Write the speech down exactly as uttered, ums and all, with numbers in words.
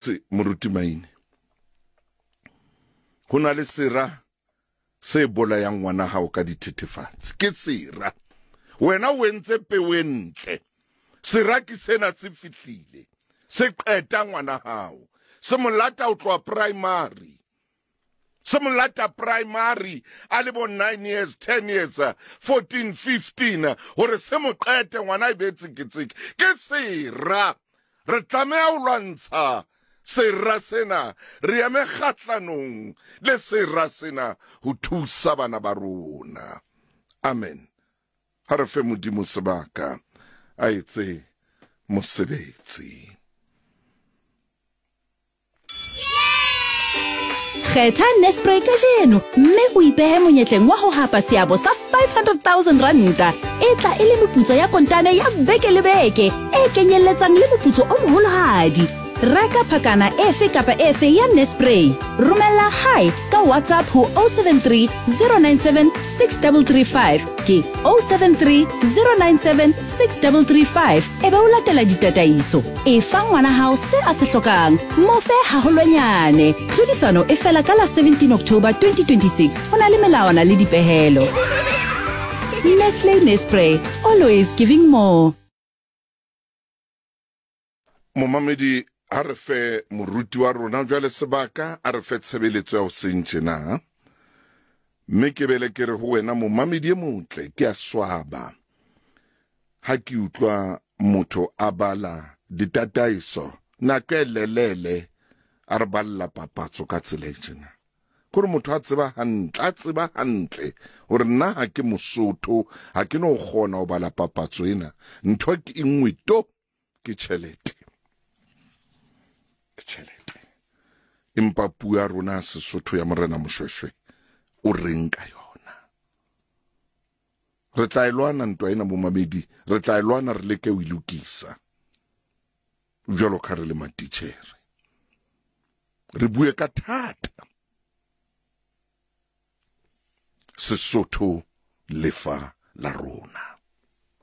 Se moruti Maine, ho na le sera se bolayang ngwana hao ka dithethefatsi. Ke sera. Wena o entse peo e ntle. Sera ke sena se fihlile. Se qeta ngwana hao. Se mo lata ho tloha primary. Se mo lata primary a le bo nine years, ten years, fourteen, fifteen, hore se mo qete ngwana e be tseketseke. Ke sera. Re tlameha ho lwantsha sera sena, re eme kgahlanong le sera sena ho thusa bana ba rona. Amen. Ha re fe Modimo sebaka a etse mosebetsi. Kgetha Nespray kajeno mme o ipehe monyetleng wa ho hapa seabo sa five hundred thousand ranta e tla e le meputso ya kontane ya beke le beke e kenyelletsang le moputso o moholohadi. Reka phakana efe kapa efe ya Nespray. Romela hi ka WhatsApp ho oh seven three, zero nine seven, six three three five ke oh seven three, zero nine seven, six three three five e be o latela ditataiso. E fa ngwana hao se a se hlokang, mo fe haholwanyane. Tlhodisano e fela ka la seventeen October twenty twenty-six. Ho na le melawana le dipehelo. Nestle Nespray, always giving more. Momamedi, ha re fe moruti wa rona jwale sebaka, a re fe tshebeletso ya hoseng tjena. Mme ke bele ke re ho wena momamedi e motle, ke a swaba ha ke utlwa motho a bala ditataiso nako e lelele a re balla papatso ka tsela e tjena. Kore motho a tseba hantle, a tseba hantle hore nna ha ke Mosotho, ha ke no kgona ho bala papatso ena. Ntho ke e nngwe to, ke tjhelete. Ke tjhelete. Empa puo ya rona ya Sesotho ya Morena Moshweshwe o reng ka yona? Re tla e lwana ntwa ena bomamedi, re tla e lwana re leke ho e lokisa. Jwalo ka re le matitjhere. Re bue ka thata. Sesotho lefa la rona.